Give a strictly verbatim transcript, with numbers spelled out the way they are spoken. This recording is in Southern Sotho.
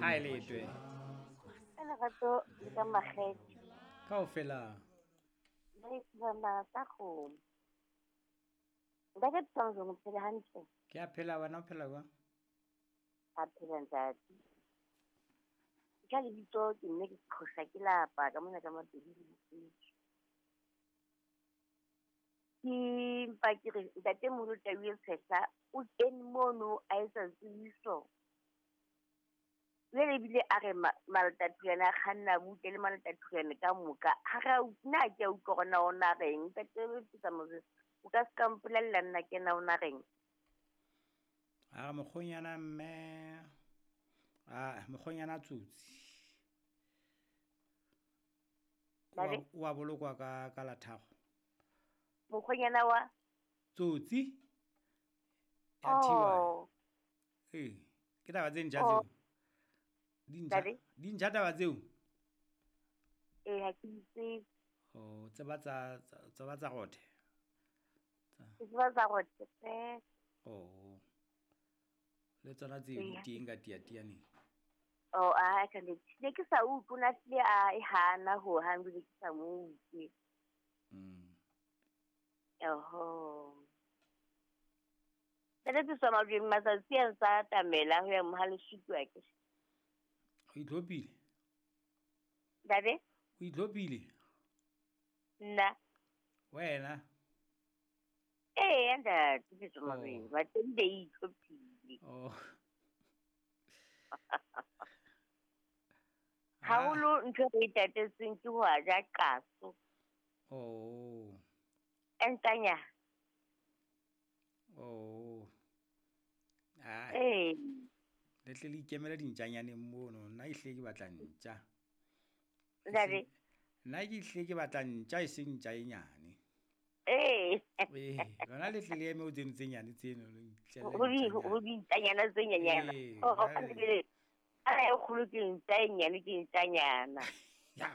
Ha e letwe. Ka lerato le ka makgethe. Kaofela. Ba e tsa kgomo. Ntate Tsonzo, o phela hantle? Ke a phela, wena o phela jwang? A phela ntate. Ka lebitso ke nne ke qhosa ke lapa ka mona ka Mapedi le Mosotho. Ke mpa ke re ntatemoholo Tau e Tshehla o kene mono a etsa tsebiso. Jwale ebile a re Malatathulane a kganna butle le Malatathulane ka moka. Ha re a nna ha ke a utlwa hore na o na reng. Ntate Motsamao, o ka se ka mpolella nna ke na o na reng? A re mokgonyana mme, a mokgonyana tsotsi. Ntate? O a bolokwa ka ka la tharo. Mokgonyana wa? Tsotsi. Ya thiwa. Oh. Ee, ke taba tse ntjha Oh. tseo. Di ntjha, Ntate? di ntjha taba tseo? Ee, ha ke di tsebe. Oh, tseba tsa, tsa, tseba tsa rothe. Ke tseba tsa rothe feela. Oh. Le tsona tseo di Ee. teng ka tiatianeng. Oh, a ka nnete. Ne ke sa utlwe, o na hlile a e hana hohang, ebile ke sa mo utlwe. Mm. Oho. Ntate Tsosa Majweng, matsatsi a ntsa atamela ho ya Mohalesutu akere. O itlhophile? Ntate? O itlhophile? Nna. Wena? Ee, ntate Tsosa Majweng, Oh. bateng be itlhophile. Oh. Haholo ntho e re e tatetseng ke ho a ja qaso. Oh. Entanya. Oh. Ah. Ee. Le tle le ikemele dintjanyaneng mono, nna ehlile ke batla ntja. Ntate? Nna ke ehlile ke batla ntja e seng ntja e nyane. Ee. Ee, lona le tle le eme ho tseno tse nyane tseno, le itlele Ho di- ntjanyana. ho dintjanyana tse nyenyana. Ee, Oh, jwale. ka sebele, a e kgolo ke ntja e nyane ke ntjanyana. Ya.